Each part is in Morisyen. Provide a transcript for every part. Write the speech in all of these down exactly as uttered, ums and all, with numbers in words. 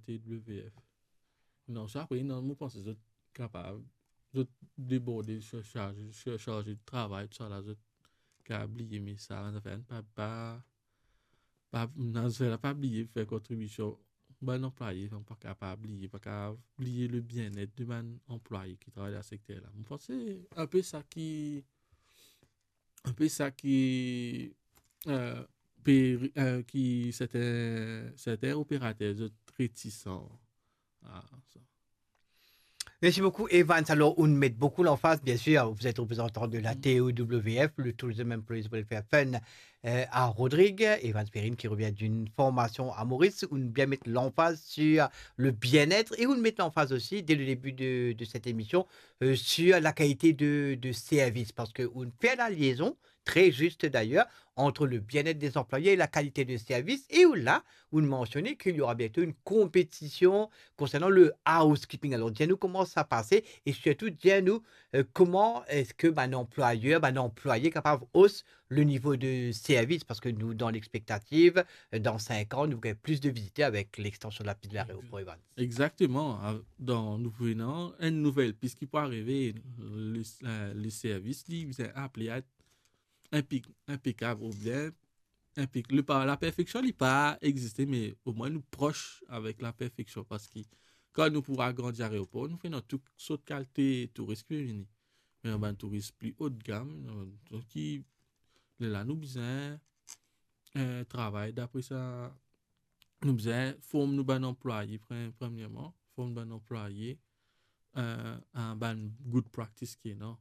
T W F. Non, sa apre, non, mo panse zot kapav, zot deborde, sir-, sarze, sir-, sarze de travay, tousala, zot kapav bliye, me sa, bann zafer la, pa, pa, pa, bann zafer la, pa bliye fer kontribision. Bann anplwaye, pa kapav bliye, pa kapav bliye le bienet de bann anplwaye ki travay dan sekter la. Mo panse se inpe sa ki, inpe sa ki, euh, pe, euh, ki sertin, sertin operater, zot retisan. Ah, sa. Merci beaucoup, Evans. Alors, on met beaucoup l'emphase, bien sûr, vous êtes représentant de la T O W F, le Tourism Employees Welfare Fund, euh, à Rodrigues. Evans Perrine qui revient d'une formation à Maurice, on bien met l'emphase sur le bien-être et on met l'emphase aussi, dès le début de, de cette émission, euh, sur la qualité de, de service, parce que on fait la liaison, très juste d'ailleurs, entre le bien-être des employés et la qualité de service. Et là, vous mentionnez qu'il y aura bientôt une compétition concernant le housekeeping. Alors, dis-nous comment ça passe et surtout, dis-nous, euh, comment est-ce que ben, un employeur, ben, un employé est capable de hausser le niveau de service, parce que nous, dans l'expectative, euh, dans cinq ans, nous avons plus de visiteurs avec l'extension de la piste de l'aéroport, Evans. Exactement. Ah, dan, nou pou ena enn nouvel pis ki pou arive, le, euh, le servis, li bizin apel a inpek-, inpekab oubien inpek-, li pa, laperfeksion, li pa existe, me omwin nou pros avek laperfeksion, parski kan nou pou agrandi aeropor, nou pou ena tou sort kalite touris ki pou vini. Me ena bann touris pli haut de gamme, donk ki, lerla nou bizin, euh, travay dapre sa, nou bizin form nou bann anplwaye, pre-, premierman, form bann anplwaye, euh, a bann good practice ki ena.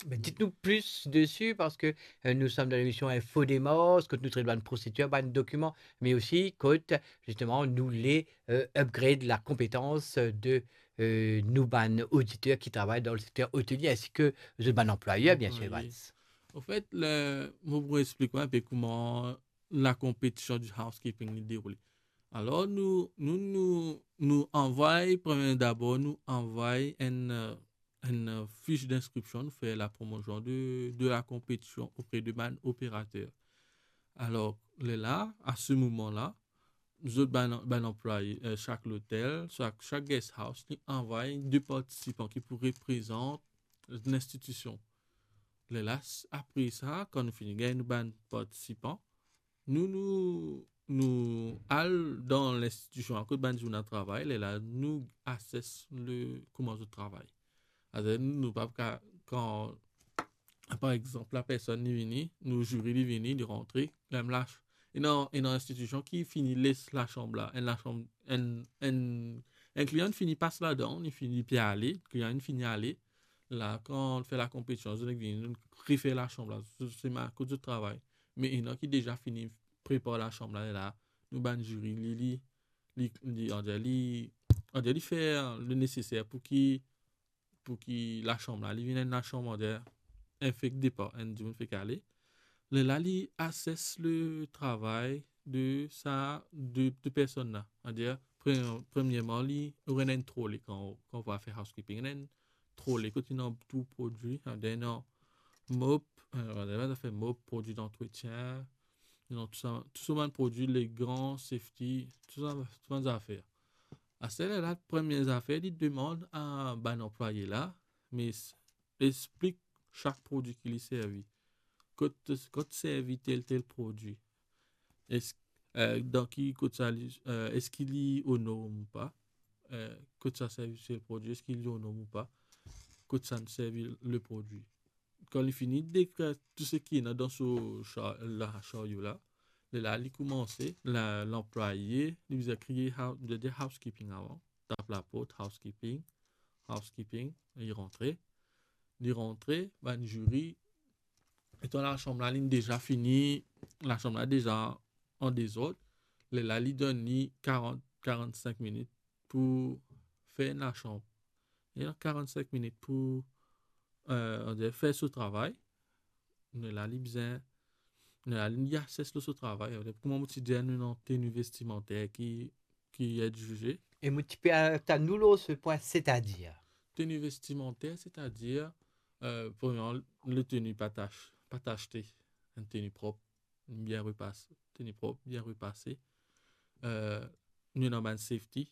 Ben, dites-nous plus dessus, parce que, euh, nous sommes dans l'émission Info Démarche, kot nou tret bann prosedir, bann dokiman, mais aussi kot, justement, nou le, euh, upgrade la compétence de, euh, nou bann auditeur ki travay dan le secteur hôtelier, ainsi que zot bann anplwayer, bien sûr, Anplwaye. Evans. Anfet, le, mo pou explik ou inpe kouma lakonpetision di housekeeping li deroule. Alor, nou, nou, nou, nou anvoy, premie dabor, nou anvoy enn, euh, enn, euh, fiche d'inscription, nou fer lapromosion de, de lakonpetision opre de bann operater. Alor, lerla, a se moman la, zot bann, bann anplwaye, euh, sak lotel, sak, sak guest house, li anvoy de partisipan ki pou reprezant linstitision. Lerla, s-, apre sa, kan nou fini gagn nou bann partisipan, nou, nou, nou al dan linstitision kot bann dimoun la travay, lerla nou assess le, kouma zot travay. Aster nou, nou pa ka, kan, par exanp, lapersonn li vini, nou ziri li vini, li rantre, li mem lach. Ena, ena institision ki fini les lasanm la, enn lasanm, enn, enn, enn klian fini pas ladan, li fini pe ale, klian fini ale. La, kan fer lakonpetision, zot vini, nou refer lasanm la, se, se ma-, kot zot travay. Me ena ki deza fini prepar lasanm la, la, nou bann ziri, li, li, li, li, andir li, andir li fer le neseser pou ki, pou ki lasanm la, li vinn enn lasanm, andir, enn fek depar, enn dimoun fek ale. Lerla, li assess le travay de sa, de, de personn la. Andir, pre-, premierman, li, ou ena enn trolley kan, kan ou va fer housekeeping, ena enn trolley kot ena tou prodwi, andir, ena mop, euh, ena zafer mop, prodwi dantretien, ena tou sa, tou sa bann prodwi, le gan, safety, tou sa, tou bann zafer. Aster la, premie zafer, li demann a bann anplwaye la, me s-, explik sak prodwi ki li servi. Kot, kot servi tel, tel prodwi. Es-, euh, dan ki, kot sa li, euh, eski li o norm ou pa? Euh, kot sa servi tel prodwi, eski li o norm ou pa? Kot sa servi le prodwi? Kan li fini dekrir tou seki ena dan so sa-, la, saryo la, lerla li koumanse, la, lanplwaye, li bizin kriye hou-, li dir housekeeping avan, tap laport, housekeeping, housekeeping, li rantre. Li rantre, bann ziri, etan lasanm la, linn deza fini, lasanm la deza an dezord, lerla li donn li karant, karant-sink minit pou fer enn lasanm. Li ena karant-sink minit pou, euh, andir, fer so travay. Lerla li bizin, lerla li assess lor so travay. Kouma mo ti dir, nou ena teni vestimanter ki, ki ed zize. Et mo ti pe aret nou lor se pwin, c'est-à-dire? Teni vestimanter, c'est-à-dire, euh, premierman, le teni pa tach, pa tachte, enn teni prop, bien repas-, teni prop, bien repase. Euh, nou ena bann safety,